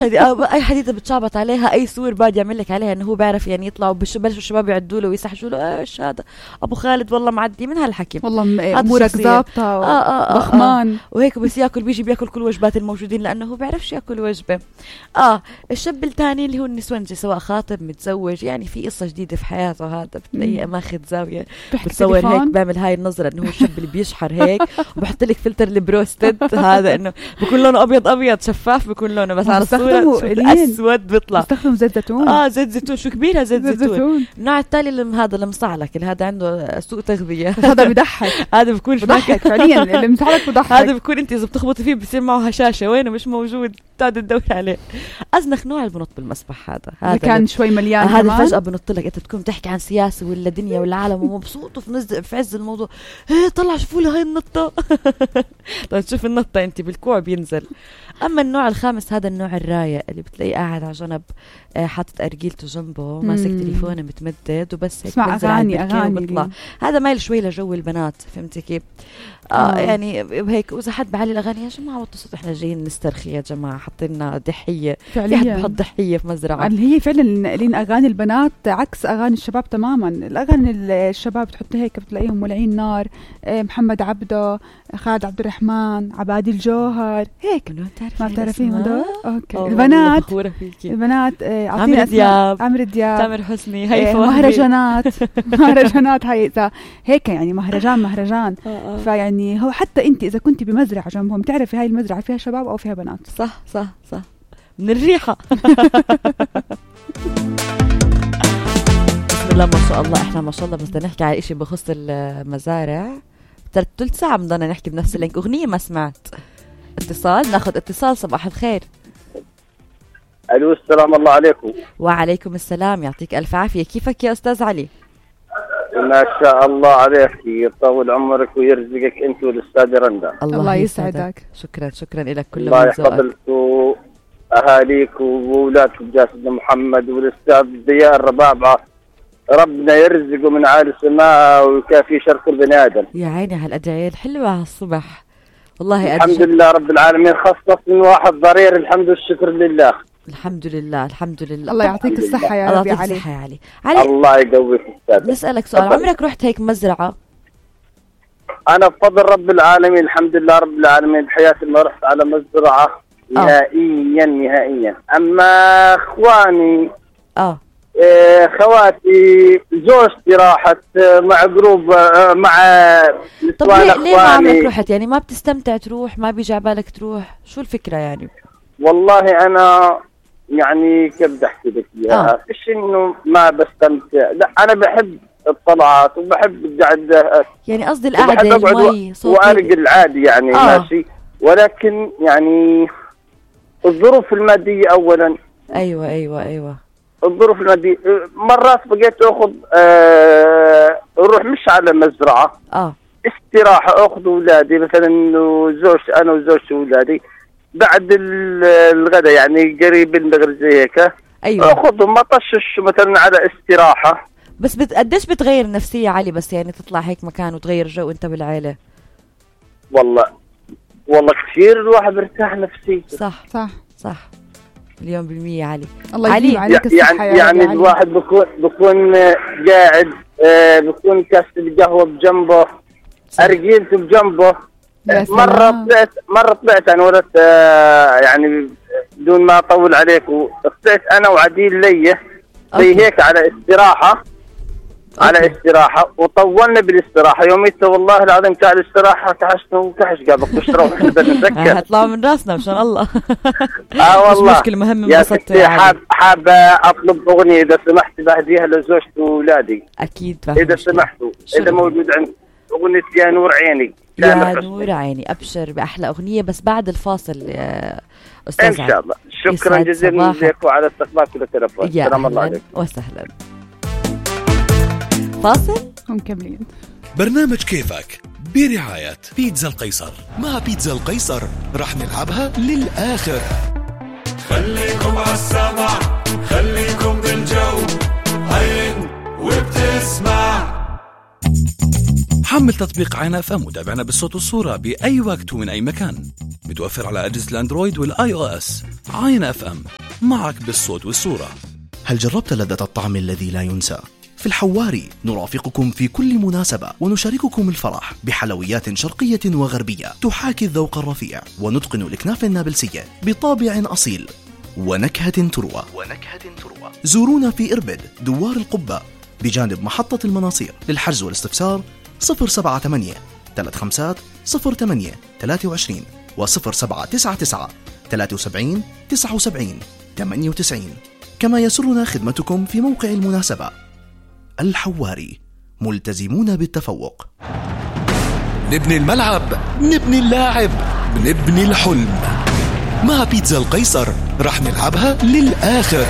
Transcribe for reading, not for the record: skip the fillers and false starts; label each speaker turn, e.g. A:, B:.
A: اي حديثة بتشعبط عليها، اي صور بعد يعمل لك عليها انه هو بيعرف يعني يطلع، وبلشوا الشباب يعدوا له ويسحشوا له ايش هذا ابو خالد والله معدي من هالحكي،
B: والله امورك ظابطه ضخمان
A: وهيك بس ياكل بيجي بياكل كل وجبات الموجودين لانه هو بيعرفش ياكل وجبه. الشاب الثاني اللي هو النسوانجي سواء خاطب متزوج، يعني في قصه جديده في حياته، هذا بتلاقيه ماخذ زاويه بتصور هيك بيعمل هاي النظره انه هو الشاب اللي بيشحر هيك وبحط لك فلتر البروستد هذا انه بكون لونه ابيض شفاف، بيكون لونه بس على الصوره اسود بيطلع.
B: استخدموا زيت زيتون.
A: زيت زيتون شو كبيرها زيت زيتون. النوع التالي هذا المصعلك اللي هذا عنده سوء تغذيه،
B: هذا بيضحك.
A: هذا بيكون
B: بيضحك فعليا اللي مصعلك بيضحك.
A: هذا بيكون انت اذا بتخبطي فيه بصير معه هشاشه، وينه مش موجود بتقعد تدور عليه. ازنخ نوع اللي بنط بالمسبح هذا
B: كان شوي مليان
A: هذا فجاه بنط لك، انت تكون تحكي عن سياسه ولا دنيا ولا عالم ومبسوط وفي عز الموضوع، طلع شوفوا له هاي النطه. طيب تشوف النطه انت بالكوع بينزل. اما النوع الخامس هذا النوع الرايق اللي بتلاقيه قاعد على جنب حاطط ارجيلته جنبه ماسك تليفونه متمدد وبس هيك
B: بينزل اغاني
A: وبيطلع. هذا مايل شوي لجو البنات، فهمتي كيف؟ يعني هيك واذا حد بعلي الاغاني يا جماعه وتصوت احنا جايين نسترخي يا جماعه، حاطين ضحيه فعليا، بحط ضحيه في مزرعه
B: اللي هي فعلا لين اغاني البنات عكس اغاني الشباب تماما. الاغاني الشباب بتحط هيك بتلاقيهم مولعين نار، محمد عبده، خالد عبد الرحمن، عبادي الجوهر هيك.
A: ما
B: تعرفين هذول؟ اوكي. البنات
A: عمرو دياب،
B: تامر
A: حسني، هي
B: مهرجانات هاي اذا هيك يعني مهرجان. فيعني هو حتى انت اذا كنت بمزرعه جنبهم تعرفي هاي المزرعه فيها شباب او فيها بنات.
A: صح من الريحه. بسم الله ما شاء الله. احنا ما شاء الله بس بدنا نحكي على شيء بخص المزارع، ثلث ساعه بدنا نحكي بنفس اللينك. اغنيه ما سمعت. اتصال، ناخذ اتصال. صباح الخير.
C: الو السلام الله عليكم.
A: وعليكم السلام، يعطيك الف عافيه. كيفك يا استاذ علي؟
C: ما شاء الله عليك، يطول عمرك ويرزقك انت والاستاذ رندا.
B: الله يسعدك.
A: شكرا لك. كل
C: الله يحفظك واهاليك واولادك بجاسد محمد والاستاذ ضياء الربابعه، ربنا يرزقه من عالي السماء ويكافي شر كل بني ادم.
A: يا عيني على الادعيه الحلوه على الصبح والله.
C: الحمد لله رب العالمين، خصص من واحد ضرير، الحمد والشكر لله.
A: الحمد لله.
B: الله يعطيك الصحة يا رب.
A: علي
C: الله يقويك أستاذ.
A: نسألك سؤال، عمرك رحت هيك مزرعة؟
C: أنا بفضل رب العالمين الحمد لله رب العالمين بحياتي ما رحت على مزرعة نهائيا. أما إخواني خواتي زوجتي راحت مع جروب مع
A: نسوان. طب ليه ما عمرك رحت؟ يعني ما بتستمتع تروح؟ ما بيجي على بالك تروح؟ شو الفكرة يعني؟
C: والله أنا يعني كيف بدي أحكي لك إياها، فيش إنه ما بستمتع، لا أنا بحب الطلعات وبحب القعدة،
A: يعني قصدي القعدة المي
C: وأرق العادي يعني ماشي، ولكن يعني الظروف المادية أولا.
A: أيوة
C: الظروف المادية مرات بقيت أخذ أروح مش على مزرعة استراحة، أخذ أولادي مثلا زوجتي، أنا وزوجتي وأولادي بعد الغداء يعني قريب المغرب زي هيك.
A: أيوة.
C: أخذهم أطشش مثلا على استراحة.
A: بس قديش بتغير النفسية علي بس يعني تطلع هيك مكان وتغير جو أنت بالعائلة؟
C: والله كثير الواحد مرتاح نفسي.
A: صح 1,000,000% علي.
B: الله يديم عليك الصحة
C: يعني الواحد بكون قاعد بكون كاس القهوة بجنبه، أرجيلته بجنبه. مرة طلعت أنا ولدت يعني بدون ما أطول عليك، طلعت أنا وعديل لي زي هيك على استراحة وطولنا بالاستراحة. يوميته والله العظيم تاع الاستراحة كحشنا وكحش قابك وشروا نتذكر
A: هطلعوا من راسنا مشان الله.
C: والله
A: مش مشكلة، مهم
C: يا ستي حابة أطلب أغنية إذا سمحت بهديها لزوجتي وأولادي.
A: أكيد
C: إذا سمحتوا، إذا موجود عند أغنية يا نور عيني.
A: يا نور عيني، أبشر بأحلى أغنية بس بعد الفاصل أستاذ
C: إن شاء الله. شكرا جزيلا لك وعلى استقبالك للتلفون. السلام الله عليكم
A: وسهلا. فاصل
B: ومكملين.
D: برنامج كيفك برعاية بيتزا القيصر. مع بيتزا القيصر رح نلعبها للآخر.
E: خليكم عالسمع، خليكم بالجو، عين وبتسمع.
D: حمل تطبيق عين اف ام وتابعنا بالصوت والصورة بأي وقت ومن أي مكان. متوفر على أجهزة الأندرويد والآي أو إس. عاين اف ام، معك بالصوت والصورة.
F: هل جربت لذة الطعم الذي لا ينسى؟ في الحواري نرافقكم في كل مناسبة ونشارككم الفرح بحلويات شرقية وغربية تحاكي الذوق الرفيع، ونتقن الإكناف النابلسية بطابع أصيل ونكهة تروى. زورونا في إربد دوار القبة بجانب محطة المناصير. للحجز والاستفسار 078 35 08 23 و 0799 73 79 98. كما يسرنا خدمتكم في موقع المناسبة. الحواري، ملتزمون بالتفوق.
D: نبني الملعب، نبني اللاعب، نبني الحلم. مع بيتزا القيصر رح نلعبها للآخر.